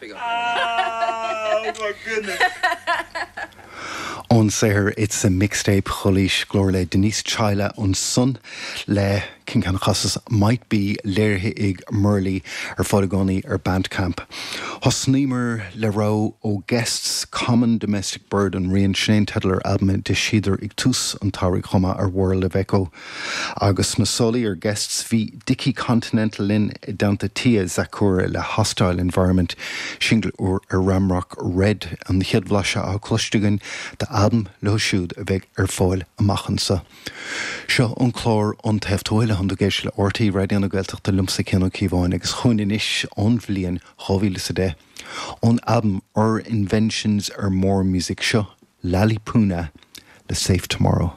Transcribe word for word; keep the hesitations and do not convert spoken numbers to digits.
Big up. Oh my goodness. Ón saothar It's a Mixtape Chulaois glór le Denise Chaila ansan le cincan chasas Might Be léirithe ag Murley ar fáil i gcónaí ar Bandcamp. Thosnaíomar le rogha ó Guests Common Domestic Bird an rian sin teideal ar albam a d'eisíodar ag tús an tsamhraidh chomh maith ar World of Echo. Agus na solaí ar Guests bhí Dickie Continental linn i dteannta Tia Zakura le Hostile Environment, singil úr ar Ramrock Red an chéad bhlaiseadh á cloiste againn d'albam leo siúd a bheidh ar fáil amach anseo. Seo an clár An Taobh Tuathail atánn tú ag éisteacht le RTÉ Raidió na Gaeltachta liomsa Cian Ó Cíobháin agus chugainn anois ón bhliain dhá mhíle is a deich ón albam Our Inventions Are More Music seo Lali Puna le Safe Tomorrow.